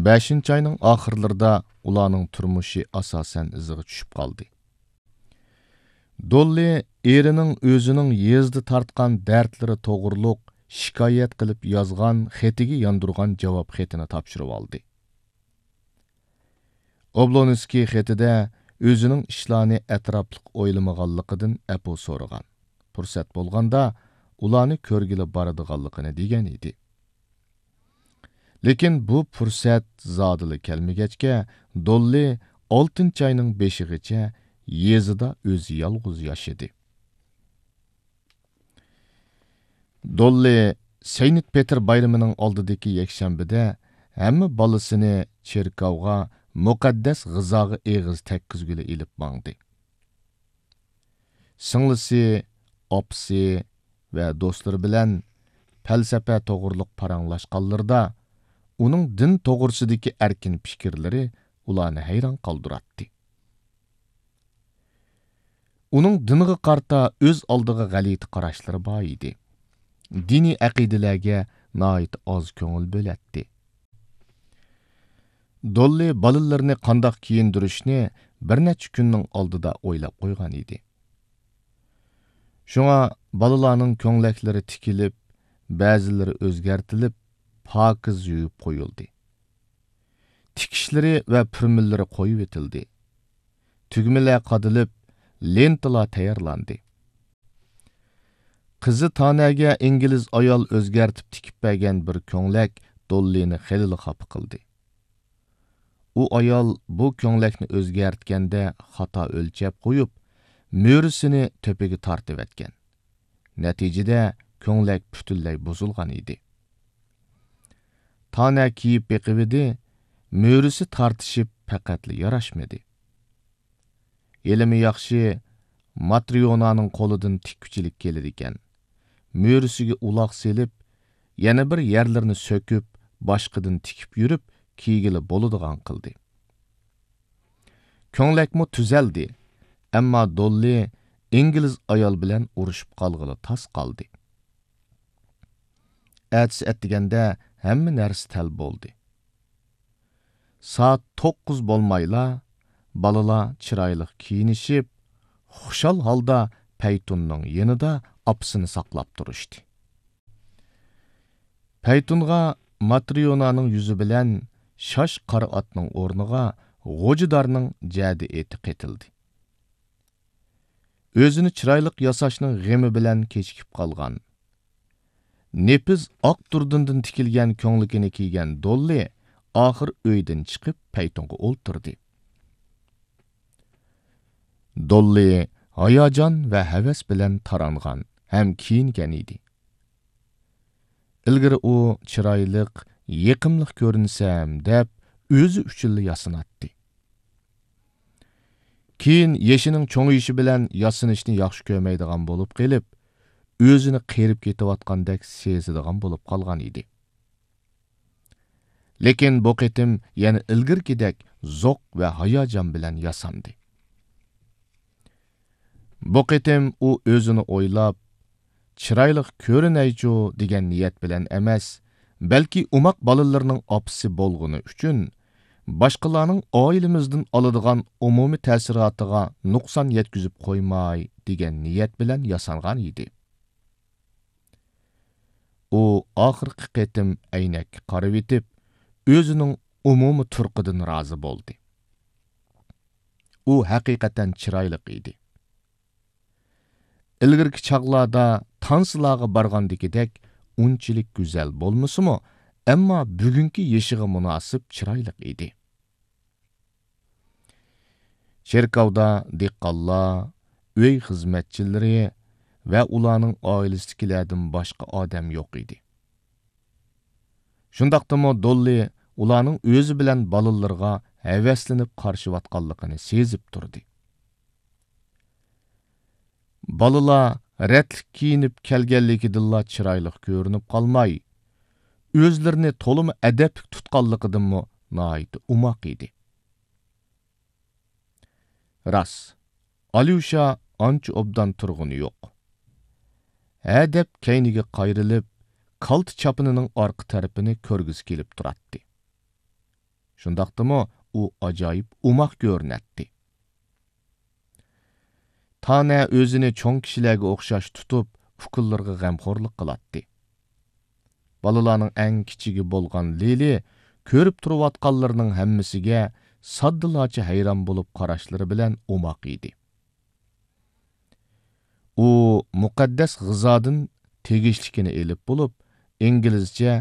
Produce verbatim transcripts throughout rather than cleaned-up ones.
بەشىنچى ئاينىڭ ئاخىرلىرىدا ئۇلارنىڭ تۇرمۇشى ئاساسەن ئىزىغا چۈشۈپ قالدى. دوللى ئېرىنىڭ ئۆزىنىڭ يېزىدا تارتقان دەردلىرى توغرۇلۇق شىكايەت قىلىپ يازغان خېتىگە ياندۇرغان جاۋاب خېتىنى تاپشۇرۇۋالدى. ئوبلونسكىي خېتىدە ئۆزىنىڭ ئىشلارنى ئەتراپلىق ئويلىمىغانلىقىدىن ئەپۇ سورىغان، پۇرسەت بولغاندا ئۇلارنى كۆرگىلى بارىدىغانلىقىنى دېگەن ئىدى. لېكىن بۇ پۇرسەت زادىلا كەلمىگەچكە، دوللى ئالتىنچى ئاينىڭ بېشىغىچە يېزىدا ئۆزى يالغۇز ياشىدى. دوللى سەينت پېتىر بايرىمىنىڭ ئالدىدىكى يەكشەنبىدە ھەممە بالىسىنى چېركاۋغا مۇقەددەس غىزاغا ئېغىز تەگكۈزگىلى ئېلىپ ماڭدى. سىڭلىسى، ئاپىسى ۋە دوستلىرى بىلەن پەلسەپە توغرۇلۇق پاراڭلاشقانلىرىدا، ئۇنىڭ دىن توغرىسىدىكى ئەركىن پىكىرلىرى ئۇلارنى ھەيران قالدۇراتتى. ئۇنىڭ دىنغا قارىتا ئۆز ئالدىغا غەلىتە قاراشلىرى بار ئىدى. دىنىي ئەقىدىلەرگە ناھايىتى ئاز كۆڭۈل بۆلەتتى. دوللى بالىلىرىنى قانداق كىيىندۈرۈشنى بىر نەچچە كۈننىڭ ئالدىدا ئويلاپ قويغان ئىدى. شۇڭا بالىلارنىڭ كۆڭلەكلىرى تىكىلىپ، بەزىلىرى ئۆزگەرتىلىپ، پاكىز يۇيۇپ قويۇلدى. تىكىشلىرى ۋە پۈرمىلىرى قويۇۋېتىلدى. تۈگمىلەر قادىلىپ، لېنتىلار تەييارلاندى. قىزى تانەگە ئىنگلىز ئايال ئۆزگەرتىپ تىكىپ بەرگەن بىر كۆڭلەك دوللىنى خېلىلا خاپا قىلدى. ئۇ ئايال بۇ كۆڭلەكنى ئۆزگەرتكەندە خاتا ئۆلچەپ قويۇپ، مۈرىسىنى تۆپىگە تارتىۋەتكەن. نەتىجىدە كۆڭلەك پۈتۈنلەي بۇزۇلغان ئىدى. تانە كىيىپ بېقىۋىدى، مۈرىسى تارتىشىپ پەقەتلا ياراشمىدى. ھېلىمۇ ياخشى، ماترىيونانىڭ قولىدىن تىككۈچىلىك كېلىدىكەن. مۈرىسىگە ئۇلاغ سېلىپ، يەنە بىر يەرلىرىنى سۆكۈپ، باشقىدىن تىكىپ يۈرۈپ، كىيگىلى بولىدىغان قىلدى. كۆڭلەكمۇ تۈزەلدى، ئەمما دوللى ئىنگلىز ئايال بىلەن ئۇرۇشۇپ قالغىلى تاس قالدى. ئەتىسى ئەتىگەندە ھەممە نەرسە تەل بولدى. سائەت توققۇز بولمايلا، بالىلار چىرايلىق كىيىنىشىپ، خۇشال ھالدا پەيتۇننىڭ يېنىدا ئاپىسىنى ساقلاپ تۇرۇشتى. پەيتۇنغا ماترىيونانىڭ يۈزى بىلەن شاش قارا ئاتنىڭ ئورنىغا غوجىدارنىڭ جەدە ئېتى قېتىلدى. ئۆزىنى چىرايلىق ياساشنىڭ غېمى بىلەن كېچىكىپ قالغان، نېپىز ئاق دۇردۇندىن تىكىلگەن كۆڭلىكىنى كىيگەن دوللى ئاخىر ئۆيدىن چىقىپ پەيتۇنغا ئولتۇردى. دوللى ھاياجان ۋە ھەۋەس بىلەن تارانغان ھەم كىيىنگەن ئىدى. ئىلگىرى ئۇ چىرايلىق، يېقىملىق كۆرۈنسەم دەپ ئۆزى ئۈچۈنلا ياسىناتتى. كېيىن يېشىنىڭ چوڭىيىشى بىلەن ياسىنىشنى ياخشى كۆرمەيدىغان بولۇپ قېلىپ، ئۆزىنى قېرىپ كېتىۋاتقاندەك سېزىدىغان بولۇپ قالغان ئىدى. لېكىن بۇ قېتىم يەنە ئىلگىرىكىدەك زوق ۋە ھاياجان بىلەن ياساندى. بۇ قېتىم ئۇ ئۆزىنى ئويلاپ، چىرايلىق كۆرۈنەيچۇ دېگەن نىيەت بىلەن ئەمەس، بەلكى ئوماق بالىلىرىنىڭ ئاپىسى بولغىنى ئۈچۈن، باشقىلارنىڭ ئائىلىمىزدىن ئالىدىغان ئومۇمىي تەسىراتىغا نۇقسان يەتكۈزۈپ قويماي دېگەن نىيەت بىلەن ياسانغان ئىدى. ئۇ ئاخىرقى قېتىم ئەينەككە قارىۋېتىپ، ئۆزىنىڭ ئومۇمىي تۇرقىدىن رازى بولدى. ئۇ ھەقىقەتەن چىرايلىق ئىدى. ئىلگىرىكى چاغلاردا تانسىلارغا بارغاندىكىدەك ئۇنچىلىك گۈزەل بولمىسىمۇ، ئەمما بۈگۈنكى يېشىغا مۇناسىپ چىرايلىق ئىدى. چېركاۋدا دېھقانلار، ئۆي خىزمەتچىلىرى ۋە ئۇلارنىڭ ئائىلىسىدىكىلەردىن باشقا ئادەم يوق ئىدى. شۇنداقتىمۇ دوللى ئۇلارنىڭ ئۆزى بىلەن بالىلىرىغا ھەۋەسلىنىپ قارىشىۋاتقانلىقىنى سېزىپ تۇردى. بالىلار رەتلىك كىيىنىپ كەلگەنلىكىدىنلا چىرايلىق كۆرۈنۈپ قالماي، ئۆزلىرىنى تولىمۇ ئەدەپلىك تۇتقانلىقىدىنمۇ ناھايىتى ئوماق ئىدى. راست، ئاليۇشا ئانچە ئوبدان تۇرغىنى يوق. ھە دەپ كەينىگە قايرىلىپ، كالتە چاپىنىنىڭ ئارقا تەرىپىنى كۆرگۈسى كېلىپ تۇراتتى. شۇنداقتىمۇ ئۇ ئاجايىپ ئوماق كۆرۈنەتتى. تانە ئۆزىنى چوڭ كىشىلەرگە ئوخشاش تۇتۇپ، ئۇكىلىرىغا غەمخورلۇق قىلاتتى. بالىلارنىڭ ئەڭ كىچىكى بولغان لىلى كۆرۈپ تۇرۇۋاتقانلىرىنىڭ ھەممىسىگە ساددىلارچە ھەيران بولۇپ قاراشلىرى بىلەن ئوماق ئىدى. ئۇ مۇقەددەس غىزادىن تېگىشلىكىنى ئېلىپ بولۇپ، ئىنگلىزچە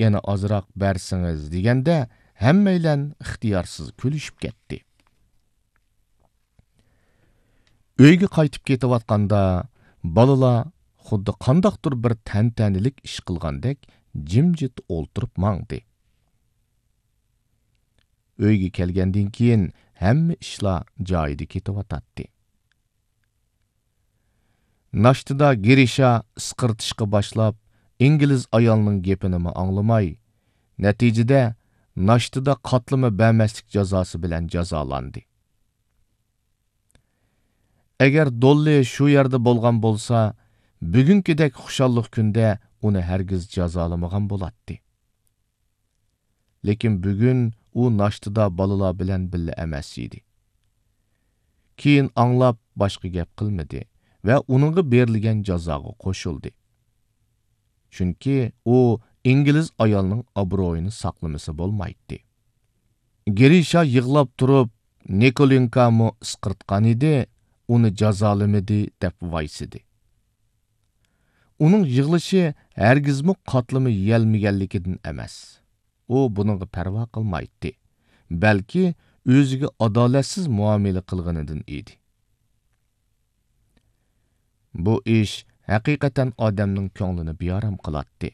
«يەنە ئازراق بەرسىڭىز» دېگەندە، ھەممەيلەن ئىختىيارسىز كۈلۈشۈپ كەتتى. ئۆيگە قايتىپ كېتىۋاتقاندا، بالىلار خۇددى قانداقتۇر بىر تەنتەنىلىك ئىش قىلغاندەك جىمجىت ئولتۇرۇپ ماڭدى. ئۆيگە كەلگەندىن كېيىن ھەممە ئىشلار جايىدا كېتىۋاتاتتى. ناشتىدا گىرىشا ئىسقىرتىشقا باشلاپ، ئىنگلىز ئايالنىڭ گېپىنىمۇ ئاڭلىماي، نەتىجىدە ناشتىدا قاتلىما بەرمەسلىك جازاسى بىلەن جازالاندى. ئەگەر دوللى شۇ يەردە بولغان بولسا، بۈگۈنكىدەك خۇشاللىق كۈندە ئۇنى ھەرگىز جازالىمىغان بولاتتى. لېكىن بۈگۈن ئۇ ناشتىدا بالىلار بىلەن بىللە ئەمەس ئىدى. كېيىن ئاڭلاپ باشقا گەپ قىلمىدى ۋە ئۇنىڭغا بېرىلگەن جازاغا قوشۇلدى. چۈنكى ئۇ ئىنگلىز ئايالنىڭ ئابرۇيىنى ساقلىمىسا بولمايتتى. گىرىشا يىغلاپ تۇرۇپ، نىكولىنكامۇ ئىسقىرتقان ئىدى، ئۇنى جازالىمىدى دەپ ۋايسىدى. ئۇنىڭ يىغلىشى ھەرگىزمۇ قاتلىما يېيەلمىگەنلىكىدىن ئەمەس. ئۇ بۇنىڭغا پەرۋا قىلمايتتى، بەلكى ئۆزىگە ئادالەتسىز مۇئامىلە قىلغىنىدىن ئىدى. بۇ ئىش ھەقىقەتەن ئادەمنىڭ كۆڭلىنى بىئارام قىلاتتى.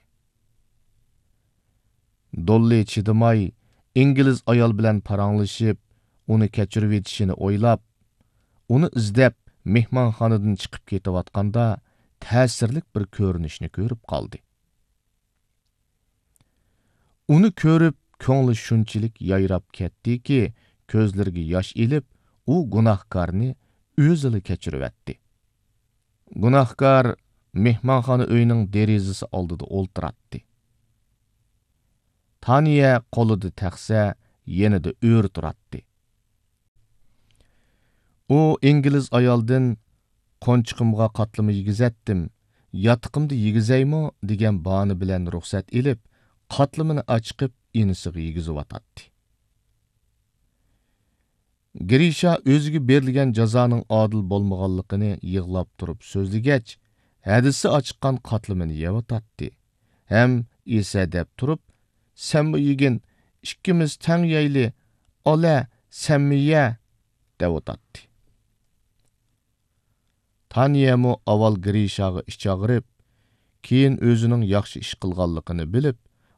دوللى چىدىماي، ئىنگلىز ئايال بىلەن پاراڭلىشىپ، ئۇنى كەچۈرۈۋېتىشىنى ئويلاپ، ئۇنى ئىزدەپ، مېھمانخانىدىن چىقىپ كېتىۋاتقاندا، تەسىرلىك بىر كۆرۈنۈشنى كۆرۈپ قالدى. ئۇنى كۆرۈپ، كۆڭلى شۇنچىلىك يايراپ كەتتىكى، كۆزلىرىگە ياش ئېلىپ، ئۇ گۇناھكارنى ئۆزىلا كەچۈرۈۋەتتى. گۇناھكار مېھمانخانا ئۆينىڭ دېرىزىسى ئالدىدا ئولتۇراتتى. تانىيە قولىدا تەخسە، يېنىدا ئۆرە تۇراتتى. ئۇ ئىنگلىز ئايالدىن «قونچىقىمغا قاتلىما يېگۈزەتتىم، ياتىقىمدا يېگۈزەيمۇ؟» دېگەن باھانە بىلەن رۇخسەت ئېلىپ، قاتلىمىنى ئاچىقىپ، ئىنىسىغا يېگۈزۈۋاتاتتى. گرىشا ئۆزىگە بېرىلگەن جازانىڭ ئادىل بولمىغانلىقىنى يىغلاپ تۇرۇپ سۆزلىگەچ، ھەدىسى ئاچىققان قاتلىمىنى يەۋاتاتتى ھەم ئېسەدەپ تۇرۇپ، «سەنمۇ يېگىن، ئىككىمىز تەڭ يەيلى، ئالە، سەنمۇ يە» دەۋاتاتتى. تانىيەمۇ ئاۋۋال گرىشاغا ئىچ ئاغرىپ، كېيىن ئۆزىنىڭ ياخشى ئىش قىلغانلىقىنى بىلىپ،